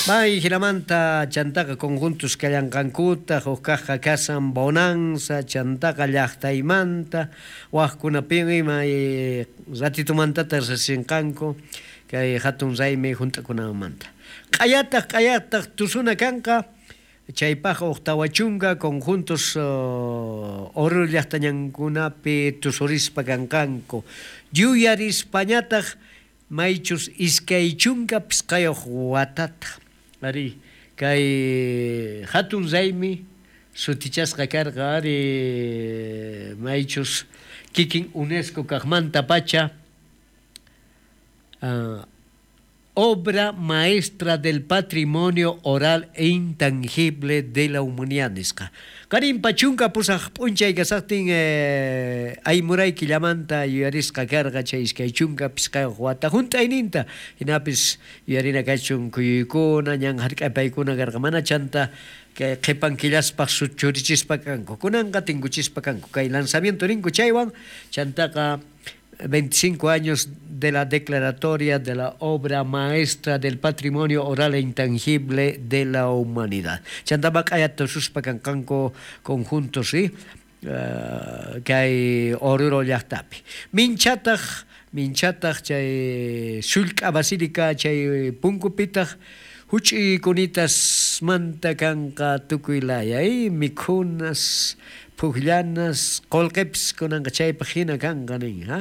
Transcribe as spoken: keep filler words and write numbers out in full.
May jinamanta chantaqa conjuntos kallanqankuta, huk kaqqa kasan Bonanza, chantaqa llaqtaymanta, waqkunapin ima ratitumantata risinqanku kay hatun raymi hunt'akunanmanta. Q'ayataq q'ayataq tusuna kanqa, chaypaq huk tawa chunka conjuntos Oruro llaqtañankunapi tusurispa kanqanku. Yuyarispañataq maychus iskay chunka pisqayuq watata. Ari kay hatun raymi sutichasqa karqa ari maychus kikin UNESCO kaqmanta pacha uh, obra maestra del patrimonio oral e intangible de la humanidad nisqa. Qarinpa chunka pusaq p'unchay kasaqtin eh, aymuray killamanta yuyarisqa karqa chay iskay chunka pisqayuq wata hunt'ayninta hinapis yuyarina kachun kuyuykuna ñan hark'apaykuna karqa mana chanta kay qhipan killaspaq churichispa kanku kunanqa tinkuchispa kanku kay lanzamiento ninku chaywan chantaqa veinticinco años de la declaratoria de la obra maestra del patrimonio oral e intangible de la humanidad. Chantama q'ayata tususpa kanqanku conjuntos, ¿sí? Uh, kay Oruro llaqtapi. Minchataq, minchataq chay sullk'a basílica chay punkupitaq huch'i kunitasmanta kanqa tukuy laya, ¿eh? Mikhunas, pukllanas, qullqipis kunanqa chaypaq hina kanqa nin, ha?